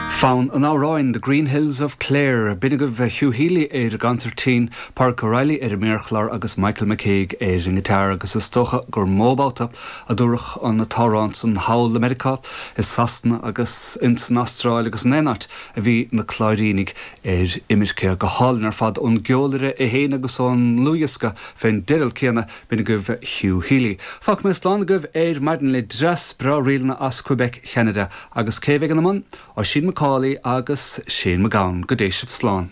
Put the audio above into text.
Fonn an amhráin 'The Green Hills of Clare'. B'in agaibh Hugh Healy ar an gconsairtín, Pádraic O'Reilly ar an méarchlár agus Michael McCague ar an ngiotár agus is dócha gur mó babhta a dúradh an t-amhrán san thall i Meiriceá, i Sasana agus ins an Astráil agus in aon áit a bhí na Cláirínigh ar imirce. Go hálainn ar fad ón gceolaire é féin agus ón ndlúthdhiosca fén dteideal céanna B'in agaibh Hugh Healy. Fágfaidh mé slán agaibh ar maidin le dreas breá ríleanna as Quebec, Cheanada. Agus cé a bheidh ina mbun? Oisín McCauley agus Shane MacGowan. Go dté sibh slán.